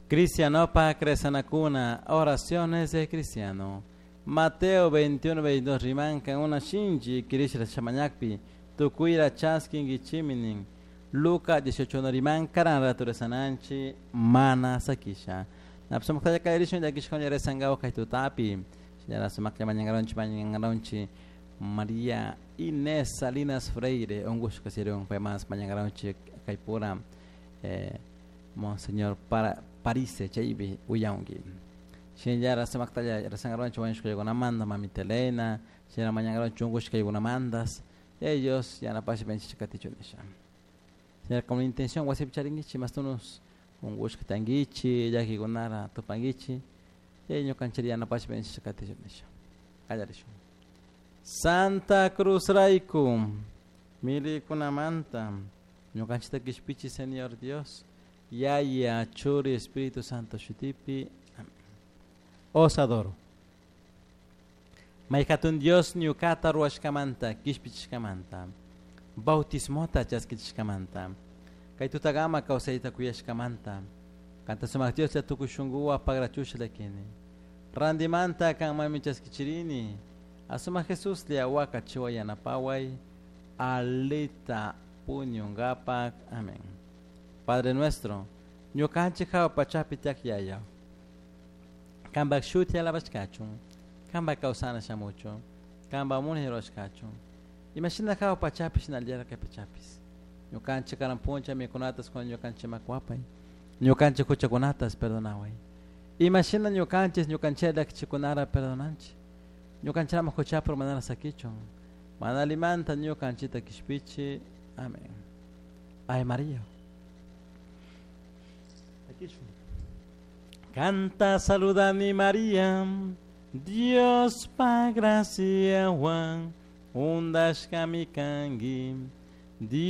Cristianopa Cresanacuna, oraciones de cristiano. Mateo 21, 22 rimanka una shinchi kirishra chamañakpi tukuyra chaskinkichiminin. Luca 18 no rimanka ranraturesananchi mana sakisha. Napsumaktalla kayrishun llakishkuna resangawa kay tutapi. Señora sumaklla mañangaronchi mañangaronchi María Inés Salinas Freire, ungushka sirun paymas mañangaronchi kaypura Monseñor para Parise chaypi uyanki. Shinallara sumaktalla resangaronchi wañushkaykunamanta mamita Elena, shinallara mañangaronchi ungushkaykunamantas, ellos yanapash venchish katichun nisha. Señor, con la intención wasipi charinkichik mastunus ungushka tankichik, llakikunara tupankichik, chay ñukanchik yanapash venchish katichun nisha. Qallarishun. Santa Cruz rayku milikunamanta ñukanchikta kishpichi Señor Dios, Yaya, Churi, Espíritu Santo shutipi. Amén. Os adoro. Mayhatun Dios ñukata ruwashkamanta, kishpichishkamanta, bautismota chaskichishkamanta, kay tutagama kawsayta kuyashkamanta, kanta sumak Dios la tukuy shunkuwan pagrachusha llakini. Randimanta kanmanmi chaskichirini, asuma Jesús liawaka chiwa yanapaway, alita puñungapak. Amén. Padre nuestro, ñukanchik hawa pachapi tiyak Yaya, kanpak shuti alabashkachun, kanpak kawsana shamuchun, kanpak munay rurashkachun, imashina hawa pachapi shinallara kay pachapis. Ñukanchik karan puncha mikunatas kun ñukanchik makwapay, ñukanchik huchakunatas perdonaway. Imashina ñukanchik ñukanchik llakichikunara perdonanchik, ñukanchikama huchapur manara sakichun, mana alimanta ñukanchikta kishpichi. Amén. Ay María. Canta, saluda mi María, Dios pa gracia Juan, undashkami kanki.